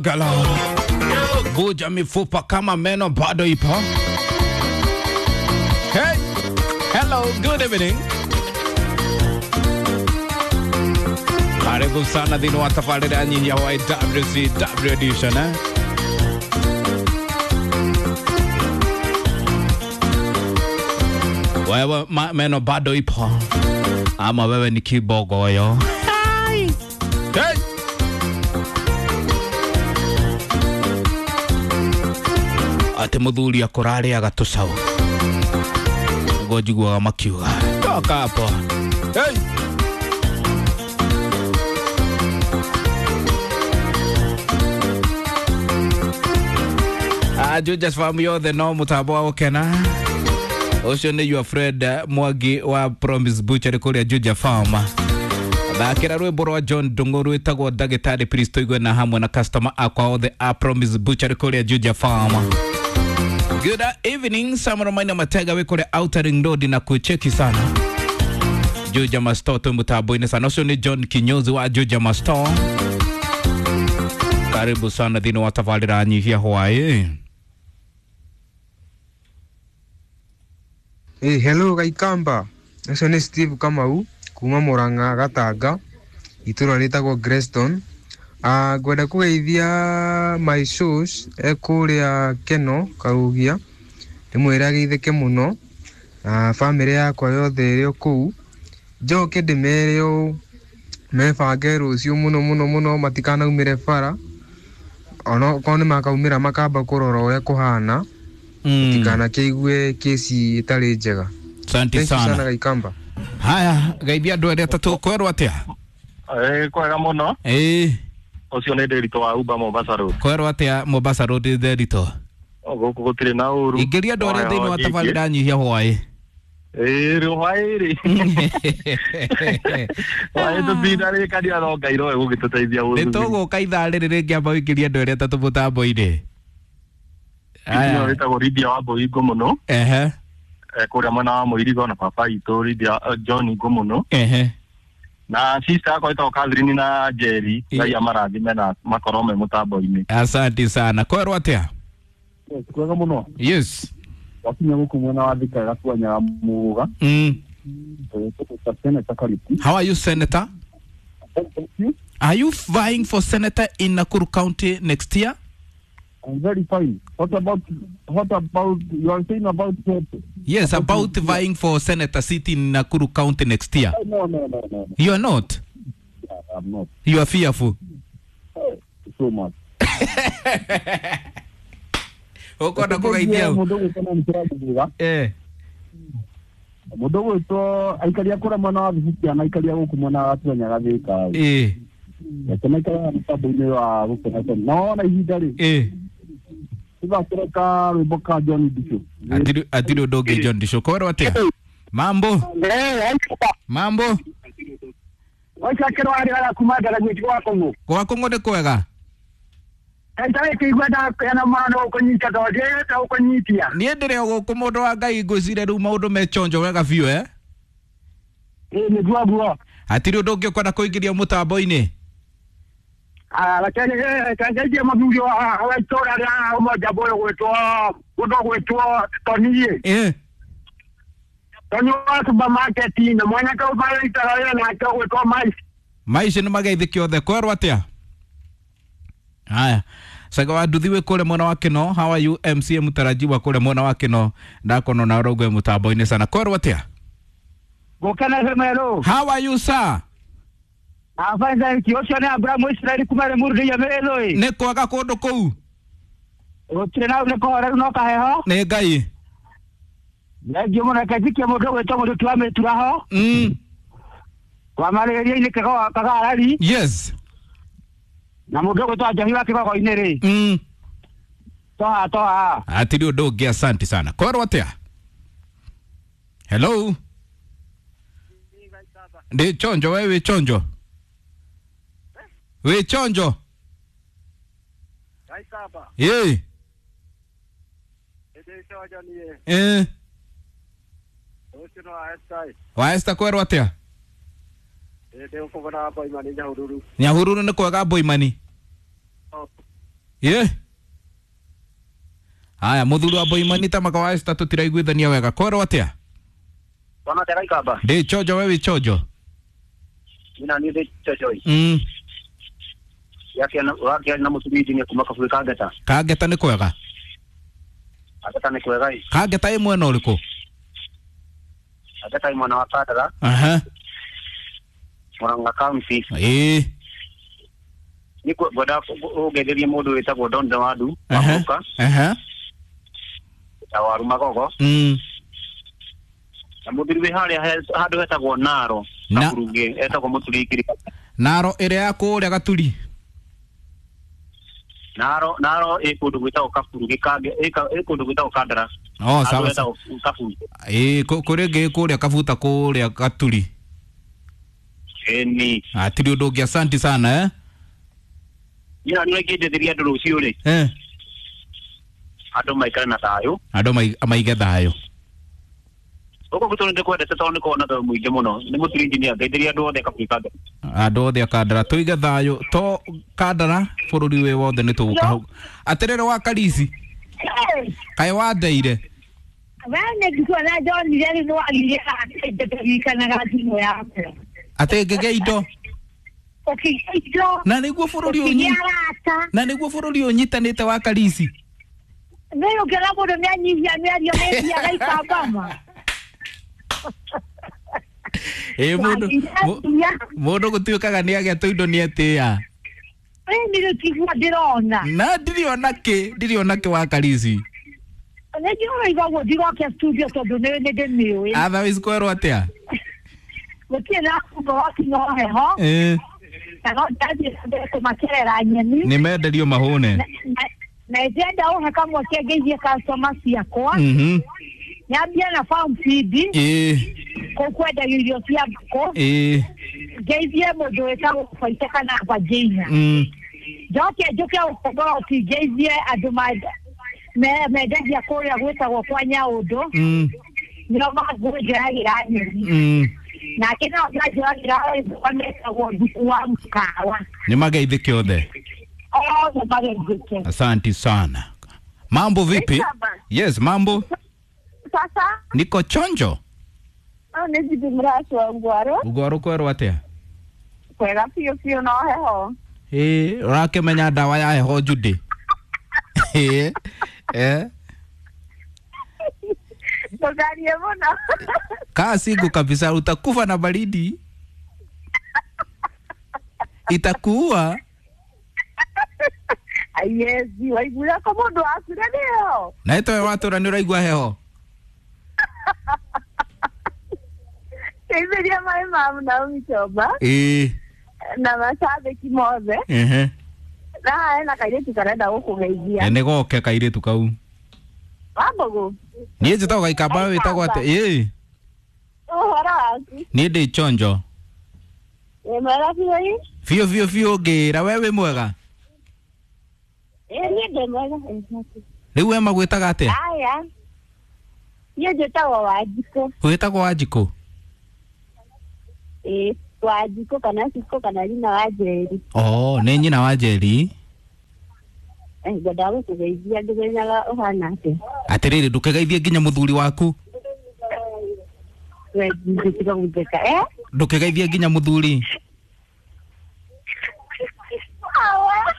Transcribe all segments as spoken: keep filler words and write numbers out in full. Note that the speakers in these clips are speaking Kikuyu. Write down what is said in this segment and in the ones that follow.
Gala. Vuja mifupa kama meno bado ipo. Hey. Hello, good evening. Karibu sana thĩinĩ wa tabarĩra nyinyi ya Y W C W edition, eh? Wewe ma, meno bado ipo ama wewe ni kibogoyo? Hey. Atĩ mũthuri akũrarĩaga tũcaũ nĩguo njiguaga makiuga toka hapo. Hey. Jujas famu yothe no mũtambo wa gũkena ũcio nĩ your friend eh, Mwangi wa Promise Butchery kũrĩa Juja Farm. Thakĩra rwĩmbo rwa John Ndung'u rwĩtagwo Ndagĩtarĩ, please, tũigue na hamwe na customer akwa othe a Promise Butchery kũrĩa Juja Farm. Good evening, Samuel Maina Matega wĩ kũrĩa Outer Ring Road na kucheki sana Juja Masto twĩ mũtambo-inĩ sana. Ũcio nĩ John Kinyozi wa Juja Masto. Karibu sana thĩinĩ wa tabarĩra nyihia hwaĩ. Hey, hello Kaikamba. Ũcio nĩ Steve Kamau kuma Murang'a Gatanga, itũra rĩtagwo Greston. Uh, ngwenda kũgeithia my shows e kũrĩa Keno Karugia, ndĩmwĩre ageithĩke mũno na bamĩrĩ yakwa yothe ĩrĩ o kũu. Njoke ndĩmere ũũ, mebange rũciũ mũno mũno mũno, matikanaumĩre bara, onokorwo nĩ makaumĩra makamba kũrora ũrĩa kũhana, Mm. tikanakĩigue kĩci ĩtarĩ njega. Asante Thank you sana sana. Kaikamba. Haya, geithia andũ erĩ atatũ, kwerwo atĩa? Eh, kwega mũno. Ĩĩ. Ũcio nĩ Ndĩritũ wa Uber Mombasa Road. Kwerwo atĩa Mombasa Road, Ndĩritũ? O, gũkũ gũtirĩ na ũru. Ingĩria andũ arĩa thĩinĩ wa Nyingĩ. tabarĩra nyihia hwaĩ. Ĩĩ, rĩ hwaĩ rĩ hwaĩ tũtinarĩkania no Ngai nowe gũgĩtũteithia Nĩ gũthuthuri. tũgũka ithaa rĩrĩ rĩngĩ, amba ũingĩrie andũ erĩ atatũ mũtambo-inĩ. Ĩyo Aya. ĩtagwo Lydia wa Mbũi mũno. Ehe. Eh, kũrĩa mwena wa Mũirigo na baba itũ Lydia eh, John Ngũ mũno Ehe. Na sister yakwa ĩtagwo Catherine na Jerry. Ĩ. Ngai amarathime na makorwo me mũtambo-inĩ. Asante sana. Kwerwo atĩa? Kwega muno. Yes. Wakinya guku mwena wa Thika gatuanyaga muga. mm. Senator Kariuki. How are you, Senator? Thank you. Are you vying for senator in Nakuru County next year? I'm very fine. What about what about you are saying about what? Yes, about vying for senator seat in Nakuru County next year. No, no, no, no, no. You are not? Yeah, I'm not. You are fearful? So much. Ũkwenda kũgeithia ũ? Mũndũ gwĩtwo na nĩkĩramuga. Eh. Mũndũ gwĩtwo aikaria kũrĩa mwena wa Thibukia na aikaria gũkũ mwena wa Gatuanyaga Thika. Eh. Reke maikaraga mũtambo-inĩ wa gũkena. Na wona ihinda rĩ, Eh. tũthakĩre rwĩmbo ka John Ndicũ. Atiri atiri ũndũ ũngĩ John Ndicũ. Kwerwo atĩa? Mambo? Mambo? Waicakĩrwo arĩ ara kuma ndaraguo gwa kũng'ũ. Gwa kũng'ũ nĩ kwega? Ndarĩ kĩigua ndakena mũno nĩ gũkũnyita tondũ ndiĩte gũkũnyitia. Niĩ ndĩrĩ o gũkũ, mũndũ wa Ngai, ngwĩciria rĩu maũndũ me chonjo wega biũ, eh? Ĩ, nĩguo guo. Hatirĩ ũndũ ũngĩ ũkwenda kũingĩria mũtambo-inĩ? Reke ngeithie mũthuri wa wa itũũra rĩa Umoja ũyũ gwĩtwo mũndũ gwĩtwo Toniĩ. Eh. Toni wa supermarket na mwanake ũmarĩitaga wĩra nake ũgwĩtwo Maici. Maici nĩ mageithĩke othe. Kwerwo atĩa? Haya, Sanga wa nduthi wĩ kũrĩa mwena wa Kĩno. How are you, M C A mũtarajiwa kũrĩa mwena wa Kĩno? Ndakona na ũraugwe mũtambo-inĩ sana. Kwerwo atĩa? Gũkena Meru. How are you, sir? I'm fine, thank you. Ũcio nĩ Abrahamu Israeli kuma Limuru ndĩia Mĩrĩthũĩ. Nĩ kwega kũndũ kũu? Gũtirĩ na nĩ kũhoreru no kaheho. Nĩ Ngai. Thengiũ mũno. Reke njikie mũndũ ũgwĩtwo Mũrĩtu wa Mĩturaho mm. wa marĩrĩria-inĩ Kagarari Yes. na mũndũ ũgwĩtwo Njohi wa Kĩgogo-inĩ rĩ. mm. Toha toha. Hatirĩ ũndũ ũngĩ, asante sana. Kwerwo atĩa? Hello, ndĩ chonjo. We wĩ chonjo, wĩ chonjo. Ĩ. Eh. Wa Esther, kwerwo atĩa? Nyahururu nĩ kwega, Boimani? Ye. Haya muthuri wa Boimani ta makawa esta tutiraiguithania wega kwerwo atia? Wana tera ikamba. Ndi chojo wewe chojo. Ina ni ndi chojo. Mm. Yake na wake na mutumiji ni kuma kaburi kangeta. Kangeta ni kwega. Kangeta ni kwega. Kangeta imwe no uriku? Kangeta imwe na wa Kandara. Aha. Murang'a County. Eh. Ni ngwenda ungetherie mundu witagwo Don Dawadu wa Muka. Aha. Ta waru magogo. Mm. Na muthuri wi haria handu hetagwo Naro Kaburungi etagwo Muturi Ngiri. Naro ĩrĩa ya kũrĩa Gaturi. Naro Naro ĩ kũndũ gwĩtagwo Kaburungi kange ĩ kũndũ gwĩtagwo Kandara. Oh sawa sawa. Eh kũrĩ ngĩ kũrĩa Kabuta kũrĩa Gaturi. Eni. Atiri ũndũ ũngĩ asante sana eh. Ina nĩ ngĩnjetheria andũ rũciũ rĩ. Eh. Andũ maikare na thayũ. Andũ maige thayũ. Gũkũ gwitũ nĩ ndĩkwendete tondũ nĩ kuona thayũ mũingĩ mũno. Nĩ Mũturi engineer ngeithĩria andũ othe Kaburi Kandara. Andũ othe a Kandara tũige thayũ to Kandara bũrũri wĩ wothe nĩ tũgũka hau. Atĩrĩrĩ wa Karisi. Kaĩ wandeire. Wene ndikuona ndonire rĩu nĩ wagire ndirikanaga thimũ yakwa. Atĩ ngĩgĩa indo. Ũkĩgĩa indo. Na nĩguo bũrũri ũnyi. Na nĩguo bũrũri ũnyitanĩte wa Karisi. Nĩ ũkĩona mũndũ nĩanyihia mĩario nĩthiaga ikambama. Ĩ mũndũ mũndũ gũtuĩkaga nĩagĩa tũindo nĩetĩa. Ĩ nĩ rĩtigua ndĩrona. Na ndirĩ ona kĩ ndirĩ ona kĩ wa Karisi. Nĩ njũĩ ũguo ndigoke studio tondũ nĩ ndĩmĩũĩ. Otherwise kwerwo atĩa? Gũtirĩ na kumba wakinya o heho. Ĩ. Na no ndathiĩ na mbere kũmakerera nyeni. Nĩ menderio mahũne. Na ndĩrenda ũhe kamweke ngeithie customer ciakwa. Mhm. Nyambie na farm feed. Ĩ. Kũu kwendagio irio cia ngũkũ. Ĩ. Ngeithie mũndũ wĩtagwo Baita kana Bajina. Mm. Njoke njũke Ũkomboroti ngeithie andũ mendagia kũrĩa gwĩtagwo kwa Nyaũndũ. Mm. Nĩo mangũnjoyagĩra nyeni. Mm. Nake no njoyagĩra metagwo Nduku wa Mũkawa. Nĩ mageithĩke othe. Othe mageithĩke. Asante sana. Mambo vipi? Yes, mambo. Sasa niko chonjo. Ah, nĩ mracu wa Ngwaro. Ngwaro kwerwo atĩa? Kwega biũ biũ no heho. Ĩ, ũrakĩmenya ndawa ya heho Judy? Ĩ, eh. Ndũkarie mũno. Kaa single kabisa utakufa na baridi. Itakuua. Yes, waiguire ko mũndũ akuire nĩyo. Na itoe watũra nĩ ũraigua heho. Ngeithĩria maĩ ma Naomi Chomba. Ĩ. Na macambĩki mothe. Ehe. Na hena kairĩtu karenda gũkũgeithia. Nĩ goke kairĩtu kau. Wambũgũ. Niĩ njĩtagwo Gaikamba wĩtagwo atĩa? Ĩ. Ũhoro waku? Niĩ ndĩ chonjo. Wĩ mwega biũ? Biũ biũ biũ ngĩra we wĩ mwega? Ĩ niĩ ndĩ mwega. Rĩu we magwĩtaga atĩa? Aya. Niĩ njĩtagwo Wanjikũ. Wĩtagwo Wanjikũ? Ĩ, Wanjikũ kana Cikũ kana nyina wa Njeri. Oh, nĩ nyina wa Njeri? Ngwendaga gũkũgeithia ngĩmenyaga ũhana atĩa. Atĩrĩrĩ ndũkĩgeithie nginya mũthuri waku. We ndĩtiga gũtheka eh? Ndũkĩgeithie nginya mũthuri. Awa.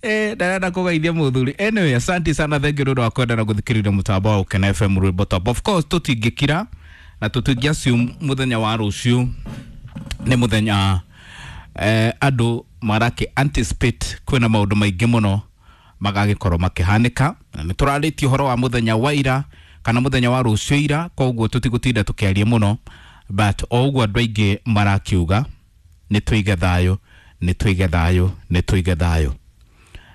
Eh, ndarenda kũgeithia mũthuri. Anyway, asante sana, thank you nĩ ũndũ wa kwenda na gũthikĩrĩria mũtambo wa Ũkena F M rwĩmbo top. Of course tũtingĩkira na tũtingĩ assume mũthenya wa rũciũ nĩ mũthenya eh, andũ marakĩ anticipate kwĩna maũndũ maingĩ mũno magagĩkorwo makĩhanĩka. Na nĩ tũrarĩtie ũhoro wa mũthenya wa ira kana mũthenya wa rũciũ ira, koguo tũtigũtinda tũkĩaria mũno, but o ũguo andũ aingĩ marakiuga nĩ tũige thayũ, nĩ tũige thayũ, nĩ tũige thayũ.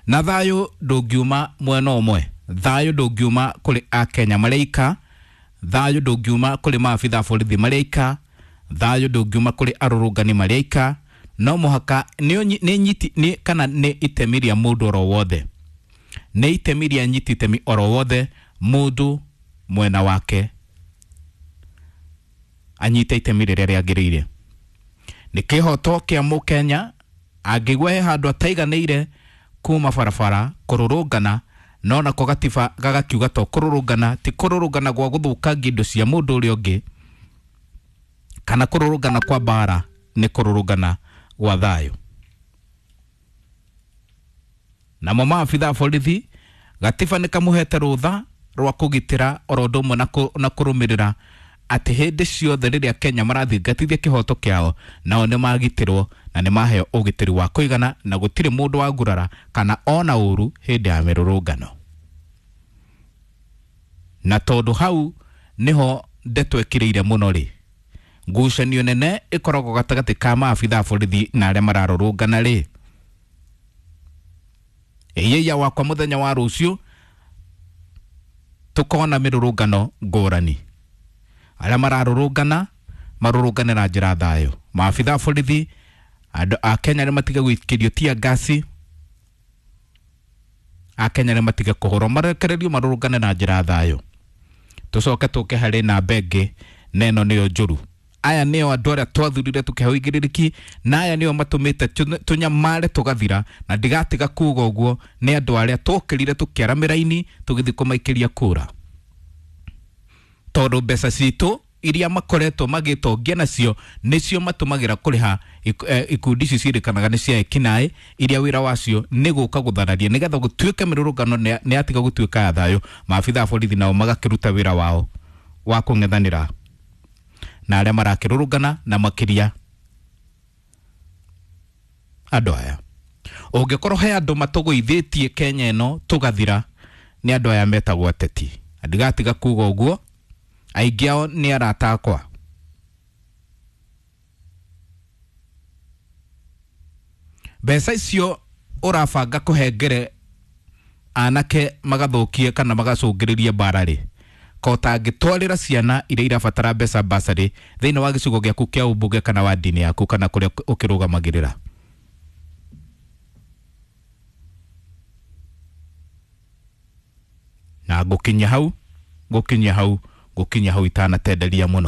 Na thayũ ndũngiuma mwena ũmwe, thayũ ndũngiuma kũrĩ akenya marĩika, thayũ ndũngiuma kũrĩ maabitha a borithi marĩika, thayũ ndũngiuma kũrĩ arũrũngani marĩika. No mũhaka nĩ nyiti nĩ kana nĩ itemi rĩa mũndũ oro wothe, nĩ itemi rĩa nyiti itemi oro wothe, mũndũ mwena wake anyite itemi rĩrĩa rĩagĩrĩire. Nĩ kĩhoto kĩa mũkenya angĩigua he handũ ataiganĩire kuma barabara kũrũrũngana, no nako gatiba gagakiuga to kũrũrũngana ti kũrũrũngana gwa gũthũkangia indo cia mũndũ ũrĩa ũngĩ kana kũrũrũngana kwa mbara, nĩ kũrũrũngana gwa thayũ. Namo maabitha a borithi gatiba nĩ kamũhete rũtha rwa kũgitĩra oro ũndũ ũmwe na kũrũmĩrĩra atĩ hĩndĩ ciothe rĩrĩa Kenya marathingatithia kĩhoto kĩao nao nĩ magitĩrwo na nĩ maheo ũgitĩri wa kũigana na gũtirĩ mũndũ wa ngurara kana ona ũru hĩndĩ ya mĩrũrũngano. Na tondũ hau nĩho ndeto ĩkĩrĩire mũno rĩ, ngucanio nene ĩkoragwo gatagatĩ ka maabitha a borithi na arĩa mararũrũngana rĩ, ĩyĩia wakwa mũthenya wa rũciũ tukona mĩrũrũngano ngũrani. Arĩa mararũrũngana marũrũngane na njĩra thayũ. Maabitha a borithi andũ a Kenya nĩ matige gũikĩrio tia ngasi, a Kenya nĩ matige kũhũrwo, marekererio marũrũngane na njĩra thayũ. Tũcoke tũke harĩ namba ĩngĩ na ĩno nĩyo njũru. Aya nĩo andũ arĩa twathurire tũkĩheo igĩrĩrĩki, na aya nĩo matũmĩte tũnyamare tũgathira, na ndigatiga kuga ũguo nĩ andũ arĩa twokĩrire tũkĩara mĩraini tũgĩthiĩ kũmaikĩria kura, tondũ mbeca citũ iria makoretwo magĩtongia nacio nĩcio matũmagĩra kũrĩha ikundi ici ciĩrĩkanaga nĩ cia ekinaĩ iria wĩra wacio nĩ gũka gũthararia nĩgetha gũtuĩke mĩrũrũngano nĩ yatiga gũtuĩka ya thayũ. Maabitha a borithi nao magakĩruta wĩra wao wa kũng'ethanĩra na arĩa marakĩrũrũngana na makĩria andũ aya. Ũngĩkorwo he andũ matũgũithĩtie Kenya ĩno tũgathira, nĩ andũ aya metagwo ateti. Ndigatiga kuga ũguo, aingĩ ao nĩ arata akwa. Mbeca icio ũrabanga kũhengere anake magathũkie kana magacũngĩrĩrie mbara rĩ, ko ũtangĩtwarĩra ciana iria irabatara mbeca basarĩ thĩinĩ wa gĩcigo gĩaku kĩa ũmbunge kana wa ndini yaku kana kũrĩa ũkĩrũgamagĩrĩra. Na ngũkinyia hau, ngũkinyia hau, ngũkinyia hau itanatenderia mũno.